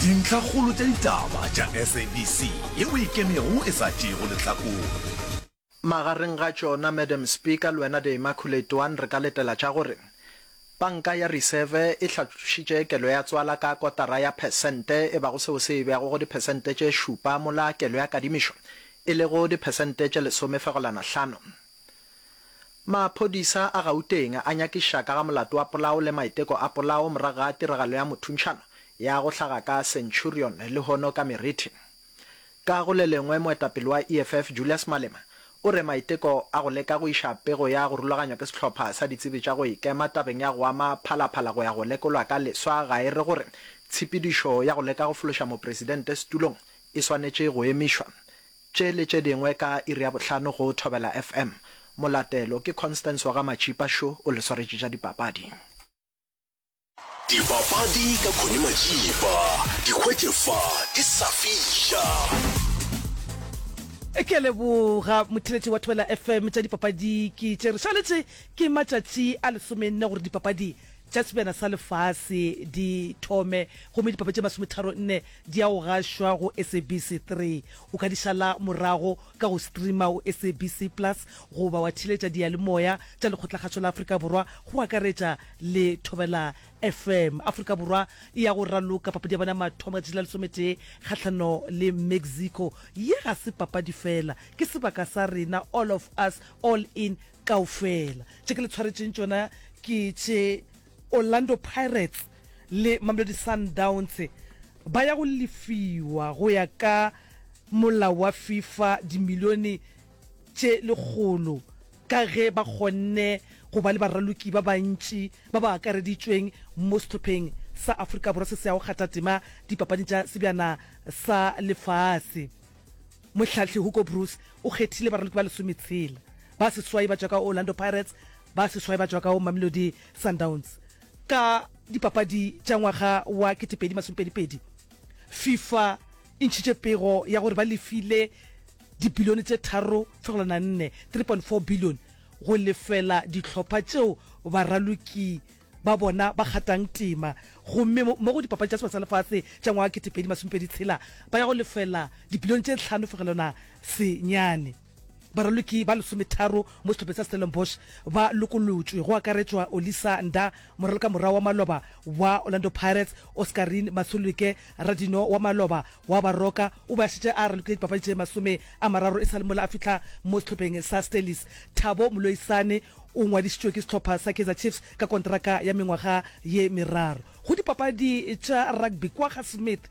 Dintlhakgolo tša ditaba tša SABC yeo e ikemego e sa tšeego lehlakore. Magareng ga tšona, Madam Speaker, le wena The Immaculate One, re ka letela tša gore Panka ya Riseve e hlatlošitše kelo ya tswala ka kotara ya phesente e bago seo se e beago go diphesente tše šupa mola kelo ya kadimišo e lego diphesente tše lesomefegolana hlano. Maphodisa a Gauteng a nyakiša ka ga molato wa polao le maiteko a polao morago ga tiragalo ya mothuntšhano ya go hlaga ka Centurion lehono ka meriti. Ka go le lengwe moetapele wa EFF Julius Malema o re maiteko a go leka go iša pego ya go rulaganywa ke sehlopha sa ditsebi tša go ikema tabeng ya go ama Phalaphala go ya go lekolwa ka leswa ga e re gore tshepedišo ya go leka go fološa mopresidente setulong e swanetše go emišwa. Tše le tše dingwe ka iri ya bohlano go Thobela FM. Molatelo ke Constance wa ga Matšipa šo o le swaretše tša dipapadi. Dipapadi ka Connie Matšipa, di hwetše fa di sa fiša. Ke a leboga motheeletši wa Thobela FM. Tša dipapadi ke tše re šaletše ke matšatši a lesomenne gore dipapadi tša Sebjana sa Lefase di thome gomme dipapadi tše masometharonne di ya go gašwa go SABC 3. O ka di šala morago ka go streama go SABC Plus goba wa theeletša diyalemoya tša Lekgotlakgašo la Afrika Borwa go akaretša le Thobela FM. Afrika Borwa e ya go raloka papadi ya bona ya mathomo ka letšatši la lesometee kgahlano le Mexico. Ye ga se papadi fela, ke sebaka sa rena, all of us, all in, kaofela. Tše ke le tshwaretšeng tšona ke tše Orlando Pirates le Mamelodi Sundowns ba ya go lefiwa go ya ka molao wa FIFA dimilione tše lekgolo ka ge ba kgonne go ba le baraloki ba bantši ba ba akareditšweng mo sehlopheng sa Afrika Borwa se se yago kgatha tema dipapading tša Sebjana sa Lefase. Mohlahli Hugo Broos o kgethile baraloki ba lesometshela, ba seswai ba tšwa ka Orlando Pirates, ba seswai ba tšwa ka Mamelodi Sundowns. Ka dipapadi tša ngwaga wa 2022, FIFA e ntšhitše pego ya gore ba lefile dibilione tše 3.4, 3.4 billion, go lefela dihlopha tšeo baraloki ba bona ba kgatang tema gomme mo go dipapadi tša Sebaka sa Lefase tša ngwaga 2026 ba ya go lefela dibilione tše 5.9. Baraloki ba lesometharo mo sehlopheng sa Stellenbosch ba lokolotšwe, go akaretšwa Olisa Ndah, moralokamorao wa maloba wa Orlando Pirates, Oscarine Masuluke, radino wa maloba wa Baroka, o be a šetše a ralokile dipapadi tše 30 e sa le mola a fihla mo sehlopheng sa Stellies. Thabo Moloisane o ngwadišitšwe ke sehlopha sa Kaizer Chiefs ka kontraka ya mengwaga ye meraro. Go dipapadi tša rugby, Kwagga Smith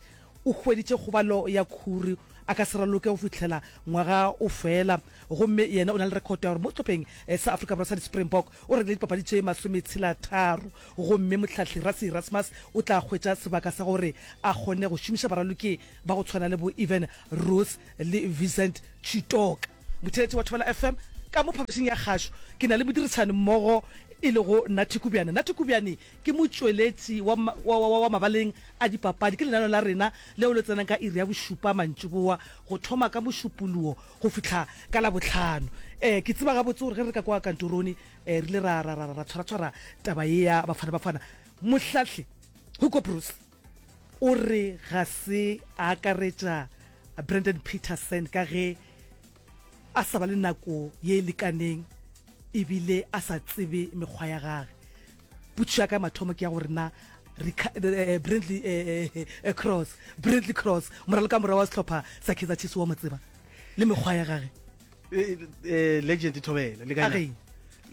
o hweditše kgobalo ya khuri, a ka se raloke go fihlela ngwaga o fela. Gomme yena o na le rekhoto ya gore mo sehlopheng sa Afrika Borwa sa di-Springbok o rekile dipapadi tše masometshela-tharo. Gomme mohlahli Rassie Erasmus o tla hwetša sebaka sa gore a kgone go šomiša baraloki ba go tshwana le bo Evan Roos le Vincent Chitoka. Motheeletši wa Thobela FM, ka mo phapošing ya kgašo ke na le modirišani mmogo e lego Nathi Kubyane. Nathi Kubyane ke motšweletši wa, wa, wa, wa mabaleng a dipapadi. Ke lenaneo la rena leo le tsenang ka iri ya bošupa mantšiboa go thoma ka Mošupologo go fihla ka Labohlano. Eh, ke tseba gabotse gore ge re ka kwa kantoroni eh, re ile ra, ra, ra, ra tshwaratshwara taba ye ya Bafana Bafana. Mohlahli Hugo Broos o re ga se a akaretša Brandon Petersen ka ge a sa ba le nako ye e lekaneng ebile a sa tsebe mekgwa ya gage. Potšišo ya ka ya mathomo ke ya gore na eh, Brandley eh, eh, eh, Cross, Brandley Cross, moralokamora wa sehlopha sa Kaizer Chiefs wa mo tseba le mekgwa ya gage? Eh, eh, legend thobela le kae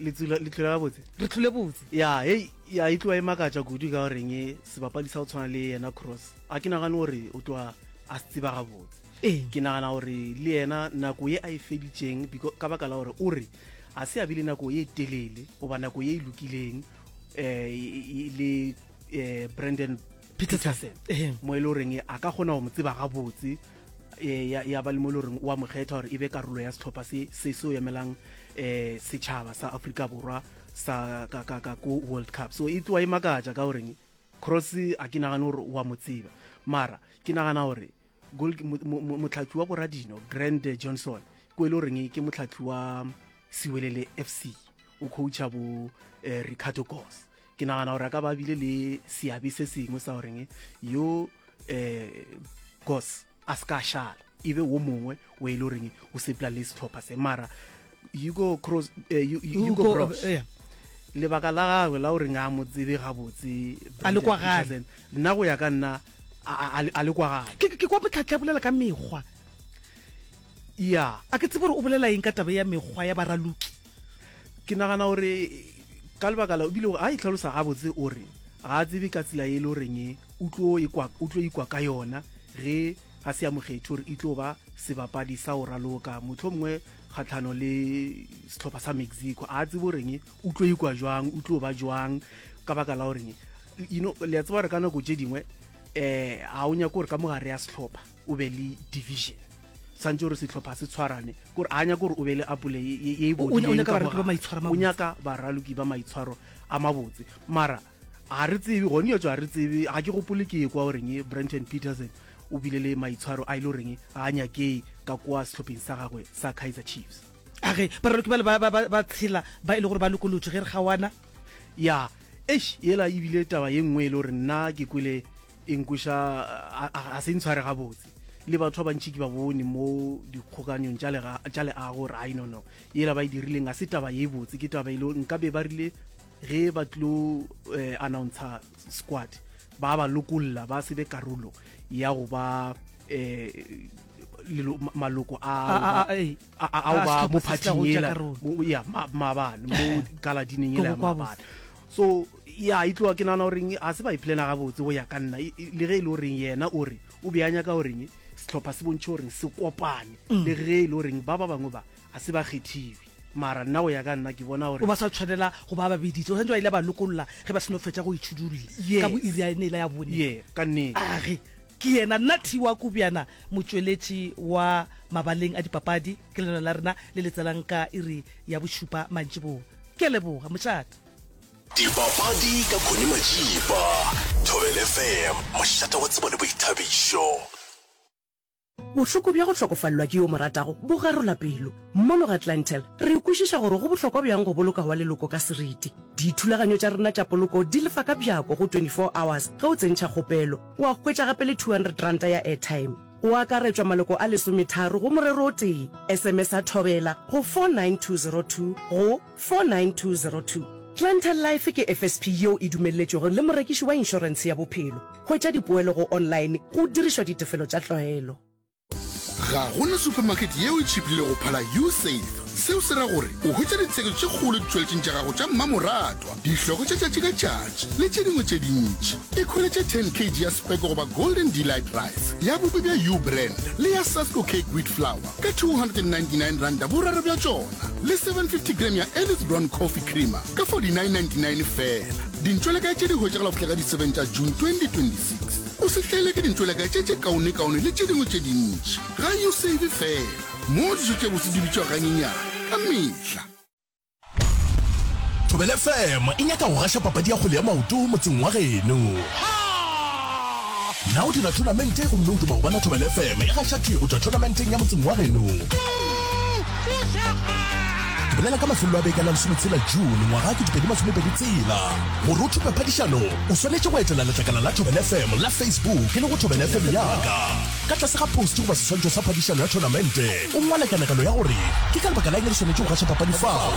le tsula le tlula gabotse re tlule botse ya hey ya e tloa e makatša kudu ka goreng e sebapadi sa go tshwana le yena cross a ke nagane gore o tloa a se tseba gabotse ee ke nagana gore le yena nako ye a e feditšeng ka baka la gore o re a se a bile nako ye telele goba nako ye e lokileng um le um brandon peterson mo e le goreng a ka kgona go mo tseba gabotse eh, ya, ya ba le mo e le goreng o a mo kgetha gore e be karolo ya sehlopha se se seo emelang um setšhaba sa Afrika Borwa sa ka, ka, ka ko World Cup. So e tloa e makatša ka goreng Cross a ke nagane gore o a mo tseba, mara ke nagana gore motlhatli wa boradino Grand Johnson ko e le goreng ke motlhatli wa Siwelele FC o coacha bo eh, Ricardo Goss. Ke nagana gore a ka ba bile le seabe se sengwe sa goreng yo eh, Goss a se ka a šala, e be wo mongwe o e le goreng o sepela le sehlopha se. Mara Hugo Cross, eh, Hugo Hugo, Broos, eh, lebaka la gagwe la goreng a mo tsebe gabotse A le Brandon kwagale. Petersen, nna go ya ka nna a, a, a, a le kwagale. Ke, ke kwa Motlhahli a bolela ka mekgwa. Ya. A ke tsebe gore o bolela eng ka taba ya mekgwa ya baraloki. Ke nagana gore ka lebaka la, ebile ga a itlhalosa gabotse o re ga a tsebe ka tsela e le goreng o tlo ikwa, o tlo ikwa ka yona ge a se a mo kgethe gore e tlo ba sebapadi sa go raloka mohlomongwe kgahlano le sehlopha sa Mexico. A tsebe goreng o tlo ikwa jwang, o tlo ba jwang ka baka la goreng, you know, le a tseba gore ka nako tše dingwe um ga o nyake gore ka mo gare ya sehlopha o be le division. Swantše gore sehlopha se tshwarane, kore a nyake gore o be le apole ye e O, o bodileng nyaka ka mo baraloki ba gare. maitshwaro a O mabotse. nyaka baraloki ba maitshwaro a mabotse. Mara ga re tsebe, gone ya tšwa ga re tsebe, ga ke gopole ke ekwa goreng Brenton Petersen o bile le maitshwaro a e le goreng ga a nyakee ka kwa sehlopheng sa gagwe sa Kaizer Chiefs. A ge baraloki bale ba, ba, ba, ba tshela ba e le gore ba lokolotšwe ge re kgaoana? Ya, eish, yela e bile taba ye nngwe e le gore nna ke kwele e nkweša, a, a, a se ntshware gabotse. Le batho ba bantši ke ba bone mo dikgokanyong tša lega, tša leago gore ai no no, yela ba e dirileng ga se taba ye botse, ke taba e le gore nkabe ba rile ge ba tlo eh, announcer squad ba ba lokolla ba se be karolo ya go ba eh, lelo, maloko a A, a, a, ee. a, a, ao A ba mo sehlopha se se tla phathing go tšea yela karolo. mo, ya ma, maabane mo galadineng Ke yela ya go kwa maabane bose. so ya e tloga ke nagana goreng ga se ba e plana gabotse go ya ka nna E- e- le ge e le goreng yena o re o be a nyaka goreng sehlopha se bontšhe goreng se kopane Mm. le ge e le goreng ba ba bangwe ba ga se ba kgethiwe mara nna go ya ka nna ke bona gore O ba sa tshwanela go ba ba biditse o santse ba ile ba lokolla ge ba seno fetša go itšhudulla Yes. ka bo iri ya ene ya bone ye ka nnete a ge ke yena nna Thiwa Kubjana motšweletši wa mabaleng a dipapadi ke lena la rena le le tselang ka iri ya bošupa mantšiboa ke a leboga mošate Dipapadi ka Connie Majiba, Thobela FM, mošate wa tsebo le boithabišo. Bohloko bja go hlokofalelwa ke yo o mo ratago bo garola pelo. Mono ga Clientele, re kwešiša gore go bohlokwa bjang go boloka wa leloko ka seriti. Dithulaganyo tša rena tša poloko di lefa ka bjako go 24 hours ge o tsentšha kgopelo. Wa hwetša gape le R200 ya airtime. Go akaretšwa maloko a lesometharo go morero o tee. SMS-a Thobela go 49202 go 49202. Clientele Life ke FSP yeo e dumelletšwego le morekiši wa inšorentshe ya bophelo. Hwetša dipoelo go online go dirišwa ditefelo tša tlwaelo. Ga go na supermarket yeo e tšhiphilego go phala U-Save. Seo se ra gore o hwetša ditsheko tše kgolo ditšweletšing tša gago tša mmamoratwa, dihloko tša tšatši ka tšatši le tše dingwe tše dintši. Ikhweletše 10 kg ya Speke goba Golden Delight Rice ya bupi bja U-Brand le ya Sasko Cake Wheat Flour ka R299 boraro bja tšona le 750 gram ya Ellis Brown Coffee Creamer ka R49.99 feela. Dintšwelekae tše di hwetšagala go fihla ka di 7 tša June 2026. O se hlaelwe ke dintšwelekae tše tše kaonekaone le tše dingwe tše dintši ga U-Save feela, moo dijo tše bose di bitšwago ganyenyane ka mehla. Thobela FM e nyaka go gaša papadi ya kgwele ya maoto motseng wa geno. Na o dira thonamente gomme o duma go bona Thobela FM e gaša thwi go tšwa thonamenteng ya motseng wa geno? Ke bolela ka mafelelo a beke a la lesometshela June ngwaga 2026. Gore o thope phadišano, o swanetše go etela letlakala la Thobela FM la Facebook e lego Thobela FM ya ka. Ka tlase ga post goba seswantšho sa phadišano ya thonamente, o ngwale kanegelo ya gore ke ka lebaka la eng re swanetše go gaša papadi fao.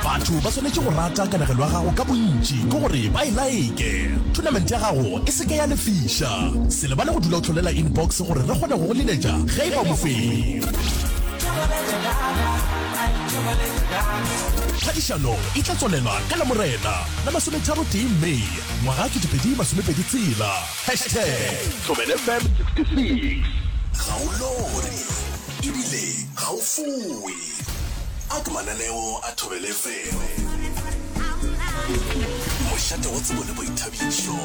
Batho ba swanetše go rata kanegelo ya gago ka bontši, ke gore ba e laeke. Thonamente ya gago e se ke ya lefiša. Se lebale go dula o hlolela inbox gore re kgone go go leletša ge e ba o mofenyi. Phadišano e tla tswalelwa ka Lamorena la masometharotee May ngwaga 2026. Hashtag Thobela FM 66. Ga o lore ebile ga o fowe. A ke mananeo a Thobela FM. Mošate wa tsebo le boithabišo.